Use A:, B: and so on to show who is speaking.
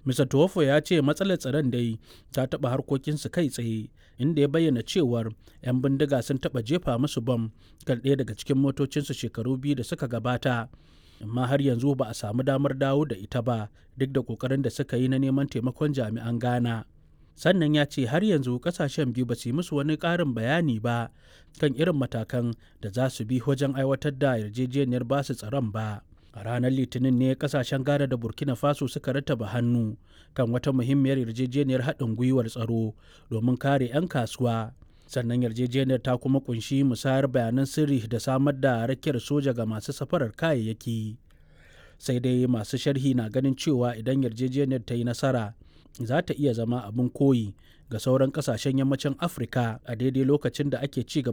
A: Mr. Tuwofo ya ce matsalar tsaron dai ta taɓa harkokinsu kai tsaye, inda ya bayyana cewar 'yan bindiga sun taɓa jefa musu bam kan ɗaya daga cikin motocinsu shekaru 2 da suka gabata. Amma har yanzu ba a samu damar dawo da ita ba duk da ƙoƙarin da suka yi na neman taimakon jami'an Ghana. Sannan ya ce har yanzu ƙasashen biyu ba su yi musu wani ƙarin bayani ba kan irin matakan da za su bi wajen aiwatar da yarjejeniyar basu tsaron ba. A ranar Litinin ne kasashen Ghana da Burkina Faso suka rattaba hannu kan wata muhimmiyar yarjejeniyar haɗin gwiwar tsaro domin kare 'yan kasuwa. Sannan yarjejeniyar ta kuma kunshi musayar bayanan sirri da samar da rakiyar soja ga masu safarar kayayyaki. Sai dai masu sharhi na ganin cewa idan yarjejeniyar ta yi nasara, za ta iya zama abin koyi ga sauran kasashen yammacin Afirka a daidai lokacin da ake ci gaba